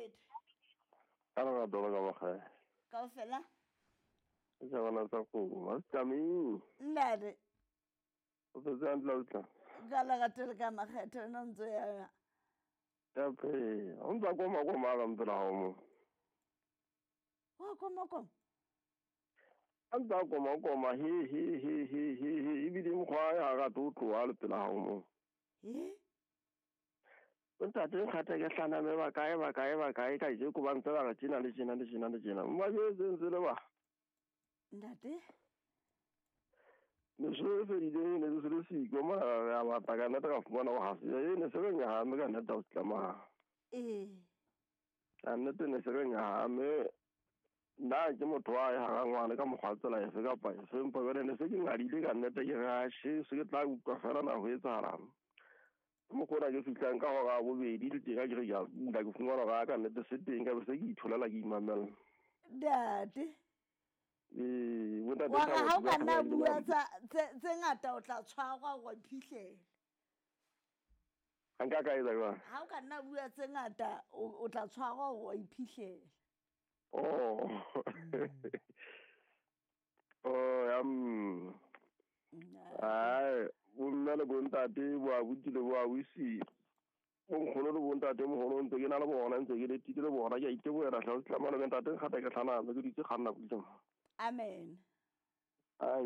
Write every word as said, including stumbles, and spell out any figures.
letho. Ka lerato la ka makgae. Kaofela? Ke tjhabana tsa kgomo. Ha se tlamehile. Ntate. O phetse hantle ausi? Ka lerato le ka makgetho wena o ntso ya. Ya phela. O ntsa koma koma ka mpela hao mo. Wa koma koma? A ntsa koma koma he he he he he he ebile mokgwa ya ga to tloha le pela hao mo. He? Ntate nkgatha ke hlaname ba kae ba kae ba kae ka je ko ba ntse ba re tjena le tjena le tjena le tjena. Mma jwetse ntse le ba. Ntate? Ne se re fedile ne se le siko mona re a batla ka nnete ka fumana ho hase. E ne se re nyahame ka nnete ho tlamaha. Eh. Ka nnete ne se re nyahame. Nna ke motho wa ya hara ngwana ka mokgwa tsela efe kapa efe empa jwale ne se ke ngadile ka nnete ke re ashe se ke tla utlwa fela na ho etsahalang. Mokgwa ke fihlang ka hora ya bobedi le teng ke re ke a bula ke fumana hore ka nnete se teng ka be se ke itholela ke imamela. Ntate. Ee, bontate Wa re ha o Thabo ka nna Thabo bua tsa tse tse ngata o tla tshwarwa wa iphihlele. Ha nka ka etsa jwang? Ha o ka nna bua tse ngata o tla tshwarwa wa iphihlele. Oh. Oh, ya mm. Ai, bomme le bontate bo abuti le bo ausi. Bonkgono le bontate moholo ntse ke na le bona ntse ke letile le bona ke a itebohela hle o tlamana le ntate nkgatha ke hlaname ke dutse kganna pula. Amen. Ai